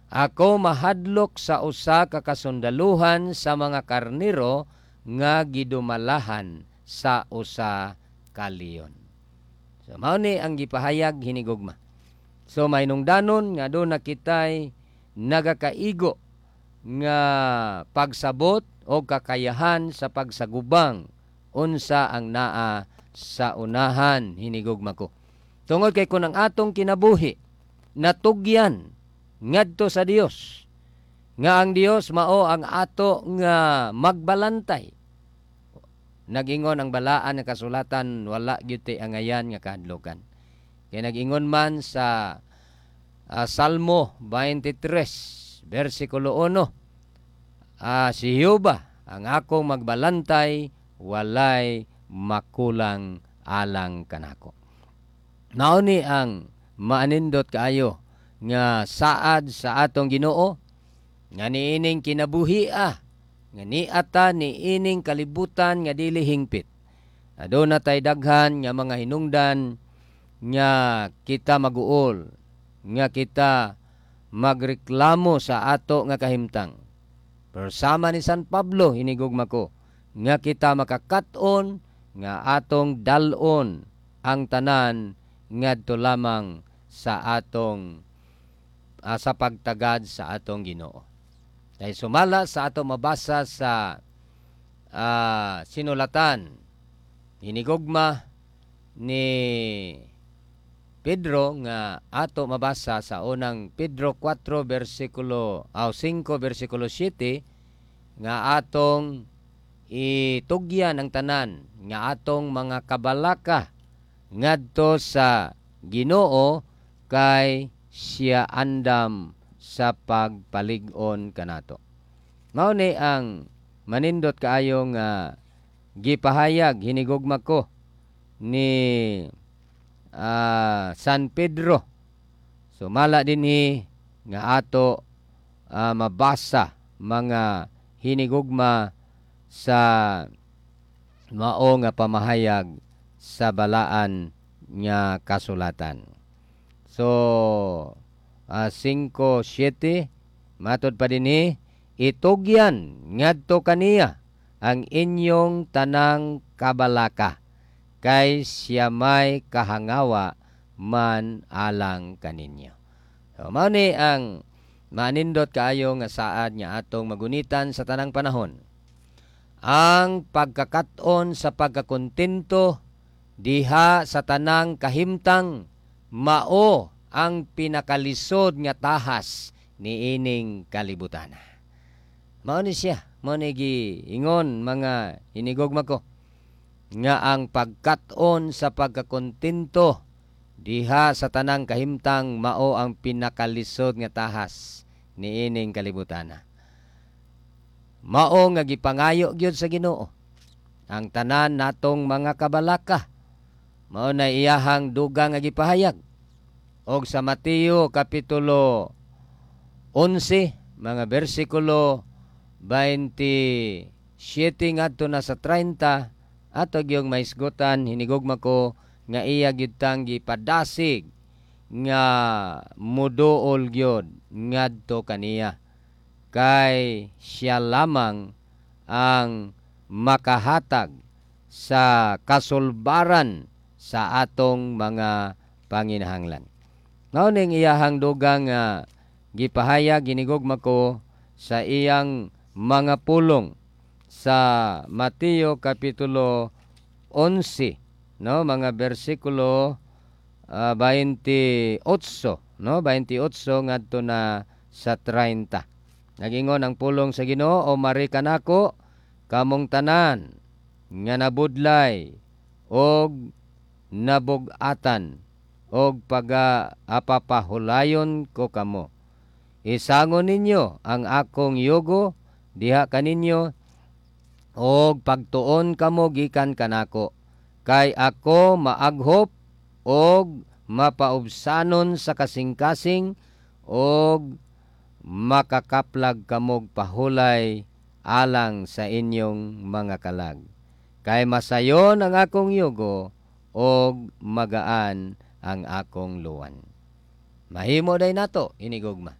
Ako mahadlok sa usa ka kasundaluhan sa mga karniro nga gidumalahan sa usa ka leon. So mao ni ang gipahayag, hinigugma. So mahinungdanon nga duna kitay nagakaigo nga pagsabot o kakayahan sa pagsagubang unsa ang naa sa unahan, hinigugma ko. Tungod kay kun ang atong kinabuhi natugyan ngadto sa Dios, nga ang Dios mao ang ato nga magbalantay. Nagingon ang balaan nga kasulatan, wala gyud tay angayan nga kahadlukan. Kay nagingon man sa Salmo 23 versikulo 1, si Jehova ang akong magbalantay, walay makulang alang kanako. Mao ni ang maanindot kaayo nga saad sa atong Ginoo nga niining kinabuhia nga niata niining kalibutan nga dili hingpit. Aduna tay daghan nga mga hinungdan nga kita maguol, nga kita magreklamo sa ato nga kahimtang. Pero sama ni San Pablo, hinigugma ko, nga kita makakat-on nga atong dal-on ang tanan ngadto lamang sa atong sa pagtagad sa atong Ginoo. Kay sumala sa ato mabasa sa sinulatan, hinigugma, ni Pedro nga ato mabasa sa unang Pedro 4 bersikulo aw 5 bersikulo 7 nga atong itugyan ang tanan nga atong mga kabalaka ngadto sa Ginoo kay siya andam sa pagpalig-on kanato. Mao ni ang manindot kaayo nga gipahayag, hinigugma ko, ni San Pedro. Sumala dinhi nga ato mabasa, mga hinigugma, sa mao nga pamahayag sa balaan nga kasulatan. So 5:7, matod pa dinhi, itugyan ngadto kaniya ang inyong tanang kabalaka kay siya may kahangawa man alang kaninyo. So, mao ni ang manindot kaayo nga saad nga atong magunitan sa tanang panahon. Ang pagkakat-on sa pagkakontento diha sa tanang kahimtang mao ang pinakalisod nga tahas niining kalibutan. Mao ni siya, mao ni giingon, mga hinigugma ko, nga ang pagkat-on sa pagkakontento diha sa tanang kahimtang mao ang pinakalisod nga tahas niining kalibutan. Mao nga gipangayo gyud sa Ginoo ang tanan natong mga kabalaka. Mao na iyahang dugang nga gipahayag. Og sa Mateo kapitulo 11 mga bersikulo 27 ngadto na sa 30, ato gyung mahisgutan, hinigugma ko, nga iya gyud tang gipadasig nga muduol gyud ngadto kaniya kay siya lamang ang makahatag sa kasulbaran sa atong mga panginahanglan. Mao ning iyahang dugang nga gipahayag, ginigugma ko, sa iyang mga pulong sa Mateo kapitulo 11, no, mga bersikulo 28, no, 28 ngadto na sa 30. Nagingon ang pulong sa Ginoo, "O mari kanako kamong tanan nga nabudlay og nabug-atan og paga apapahulayon ko kamo. Isangon ninyo ang akong yugo diha kaninyo og pagtuon kamo gikan kanako kay ako maaghop og mapaubsanon sa kasing-kasing og makakaplag kamog pahulay alang sa inyong mga kalag. Kay masayon ang akong yugo og magaan ang akong luwan." Mahimo day nato, hinigugma.